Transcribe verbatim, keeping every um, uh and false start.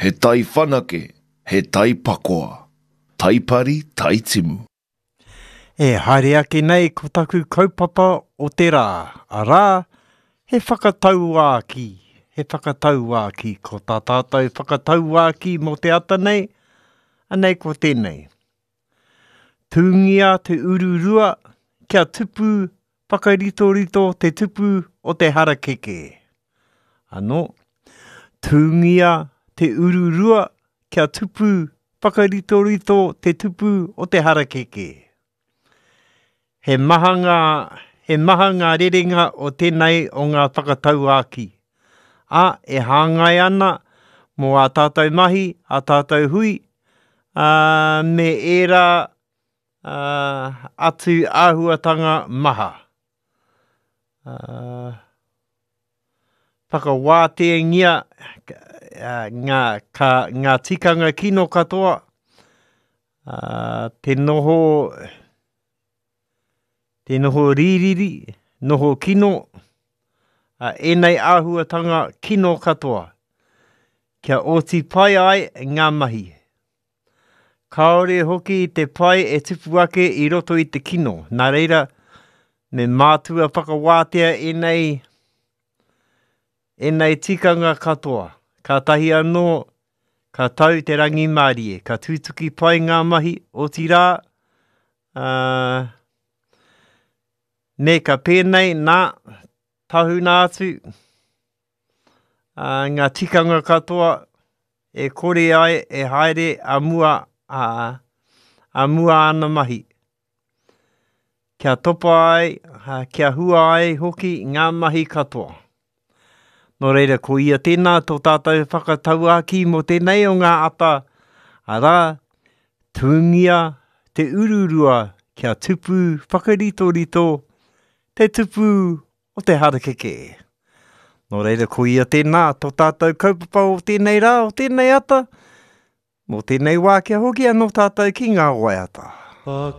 He tai whanake, he tai pakoa. Tai pari, tai timu. E haere ake nei ko taku kaupapa o te rā, arā, he whakatauākī, he whakatauākī, ko tā tātou whakatauākī mō te ata nei, anei ko tēnei. Tūngia te ururua kia tupu whakaritorito te tupu o te harakeke. Anō, tūngia te ururua kia tupu whakaritorito te tupu o te harakeke. He maha ngā, he maha ngā rerenga o tēnei o ngā whakatauākī. Ā, e hāngai ana mō ā tātou mahi, ā tātou hui, ā, me ērā ā, atu āhuatanga maha. Ā, whakawātengia ngā, ka, ngā tikanga kino katoa, ā, te noho, te noho rīriri, noho kino, ā, ēnei āhuatanga kino katoa, kia oti pai ai ngā mahi. Kāore hoki te pai e tupu ake i roto i te kino. Nā reira, me mātua whakawātea ēnei, ēnei tikanga katoa. Kātahi anō, ka tau te rangimārie, ka tutuki pai ngā mahi, otirā, ā, me ka pēnei nā, tahuna atu, ā, ngā tikanga katoa e kore ai e haere a mua, ā, a mua ana mahi. Kia topa ai, kia hua ai hoki ngā mahi katoa. Nō reira, ko ia tēnā tō tātou whakatauākī mō tēnei o ngā ata, arā, tūngia te ururua kia tupu whakaritorito te tupu o te harakeke. Nō reira, ko ia tēnā tō tātou kaupapa o tēnei rā, o tēnei ata, mō tēnei wā kia hoki anō tātou ki ngā waiata.